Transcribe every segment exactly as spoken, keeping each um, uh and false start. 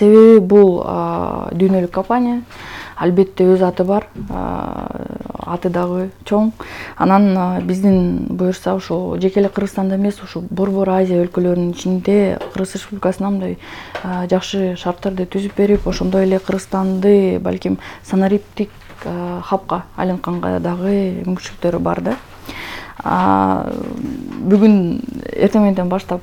себеби бул дүйнөлүк компания, албетте өз аты бар, аты дагы чоң. Анан биздин буюрса ошо жеке эле Кыргызстанда эмес, ошо Борбор Азия өлкөлөрүнүн ичинде Кыргыз Республикасына мындай жакшы шарттарды түзүп берип, ошондой эле Кыргызстанды балким санариптик хабка айлантканга дагы мүмкүнчүлүктөрү бар да. Бүгүн эртең мененден баштап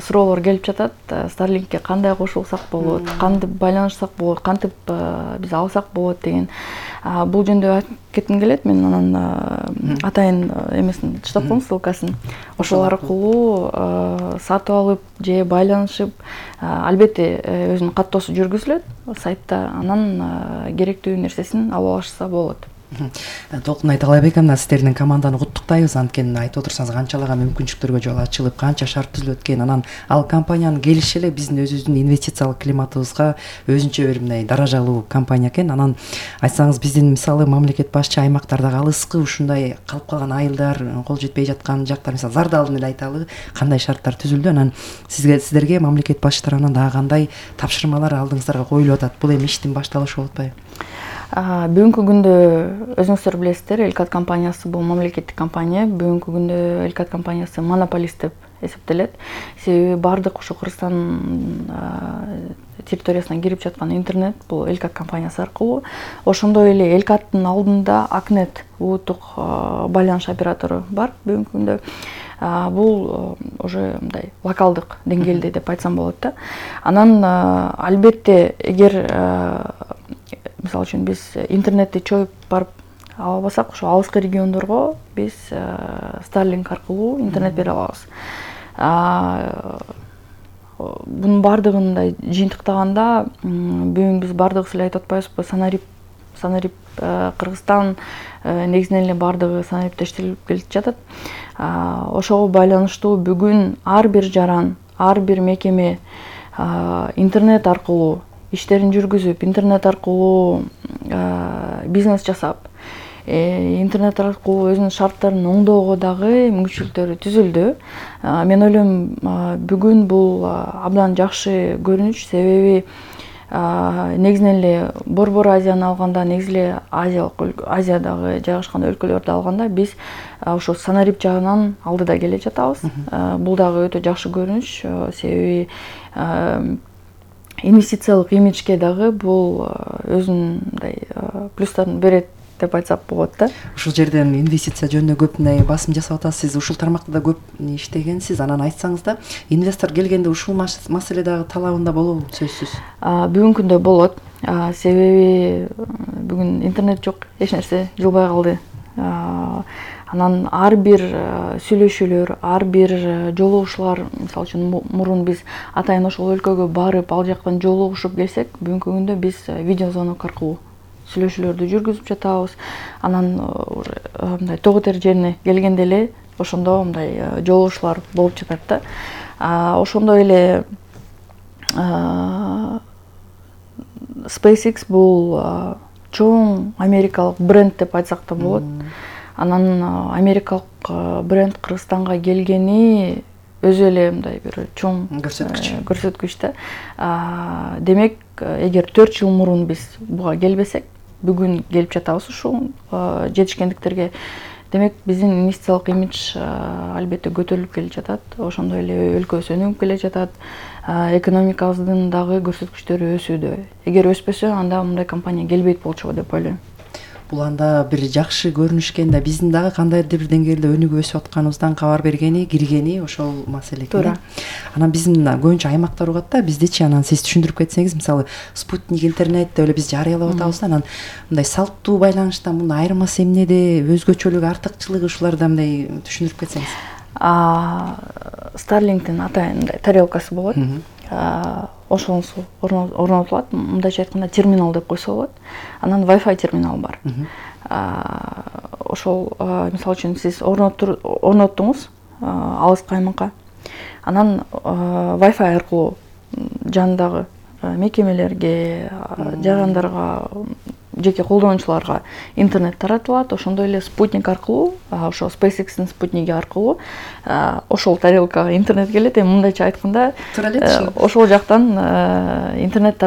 суроолор келип жатат. Starlinkке кандай кошулсак болот, кантип байланышсак болот, кантип биз алсак болот деген. Бул жөнүндө айтып кетким келет. Мен анан атайын эмесин таштап коем, ссылкасын. Ошол аркылуу сатып алып же байланышып, албетте өзүнүн каттоосу жүргүзүлөт сайтта. Анан керектүү нерсесин алып алышса болот. Толкун Айталайбек, мына сиздердин команданы куттуктайбыз. Анткени айтып отурсаңыз канчалаган мүмкүнчүлүктөргө жол ачылып, канча шарт түзүлүп экен. Анан ал компаниянын келиши эле биздин өзүбүздүн инвестициялык климатыбызга өзүнчө бир мындай даражалуу компания экен. Анан айтсаңыз, биздин мисалы мамлекет башчы аймактардагы алыскы ушундай калып калган айылдар, кол жетпей жаткан жактар, мисалы Зардалын эле айталы, кандай шарттар түзүлдү. Анан сизге сиздерге мамлекет башчы тарабынан дагы кандай тапшырмалар алдыңыздарга коюлуп атат? Бул эми иштин башталышы болуп атпайбы? Бүгүнкү күндө өзүңүздөр билесиздер, Элкат компаниясы бул мамлекеттик компания. Бүгүнкү күндө Элкат компаниясы монополист деп эсептелет. Себеби бардык ошо Кыргызстан территориясына кирип жаткан интернет бул Элкат компаниясы аркылуу. Ошондой эле Элкаттын алдында Акнет улуттук байланыш оператору бар бүгүнкү күндө. Бул уже мындай локалдык деңгээлде деп айтсам болот да. Анан албетте эгер мисалы үчүн биз интернетти чоюп барып ала албасак, ошо алыскы региондорго биз Starlink аркылуу интернет бере алабыз. Бунун бардыгын мындай жыйынтыктаганда бүгүн биз бардыгыбыз эле айтып атпайбызбы, санарип санарип Кыргызстан негизинен эле бардыгы санарипте иштелип келип жатат. Ошого байланыштуу бүгүн ар бир жаран, ар бир мекеме интернет аркылуу иштерин жүргүзүп, интернет аркылуу бизнес жасап, интернет аркылуу өзүнүн шарттарын оңдоого дагы мүмкүнчүлүктөрү түзүлдү. Мен ойлойм, бүгүн бул абдан жакшы көрүнүш, себеби негизинен эле Борбор Азияны алганда, негизи эле Азиялык Азиядагы жайгашкан өлкөлөрдү алганда биз ошо санарип жагынан алдыда келе жатабыз. Бул дагы өтө жакшы көрүнүш, себеби инвестициялык имиджге дагы бул өзүнүн мындай плюстарын берет деп айтсак болот да. Ушул жерден инвестиция жөнүндө көп мындай басым жасап атасыз. Сиз ушул тармакта да көп иштегенсиз. Анан айтсаңыз да, инвестор келгенде ушул маселе дагы талабында болобу? Сөзсүз. Бүгүнкү күндө болот. Себеби бүгүн интернет жок, эч нерсе жылбай калды. Анан ар бир сүйлөшүүлөр, ар бир жолугушуулар, мисалы үчүн мурун биз атайын ошол өлкөгө барып, ал жактан жолугушуп келсек, бүгүнкү күндө биз видеозвонок аркылуу сүйлөшүүлөрдү жүргүзүп жатабыз. Анан мындай тоо котер жерине келгенде эле ошондо мындай жолугушуулар болуп жатат да. Ошондой эле SpaceX бул чоң америкалык бренд деп айтсак да болот. Анан америкалык бренд Кыргызстанга келгени өзү эле мындай бир чоң көрсөткүч. Көрсөткүч да. Демек, эгер төрт жыл мурун биз буга келбесек, бүгүн келип жатабыз ушул жетишкендиктерге. Демек, биздин инвестициялык имидж албетте көтөрүлүп келе жатат. Ошондой эле өлкөбүз өнүгүп келе жатат. Экономикабыздын дагы көрсөткүчтөрү өсүүдө. Эгер өспөсө, анда мындай компания келбейт болчу деп ойлойм. Бул анда бир жакшы көрүнүш экен да, биздин дагы кандайдыр бир деңгээлде өнүгүп өсүп атканыбыздан кабар бергени, киргени ошол маселе экен. Туура. Анан биздин көбүнчө аймактар угат да, биздичи анан сиз түшүндүрүп кетсеңиз, мисалы спутник интернет деп эле биз жарыялап атабыз да, анан мындай салттуу байланыштан мунун айырмасы эмнеде, өзгөчөлүгү, артыкчылыгы ушуларда мындай түшүндүрүп кетсеңиз. Starlink'тин атайын мындай тарелкасы болот. Ошонусу орнотулат, мындайча айтканда терминал деп койсо болот. Анан Wi-Fi терминал бар. Ошол мисалы үчүн сиз орноттуңуз алыскы аймакка. Анан Wi-Fi аркылуу жанындагы мекемелерге, жарандарга, жеке колдонуучуларга интернет таратылат. Ошондой эле спутник аркылуу, ошо SpaceX'тин спутниги аркылуу ошол тарелкага интернет келет. Эми мындайча айтканда, ошол жактан интернет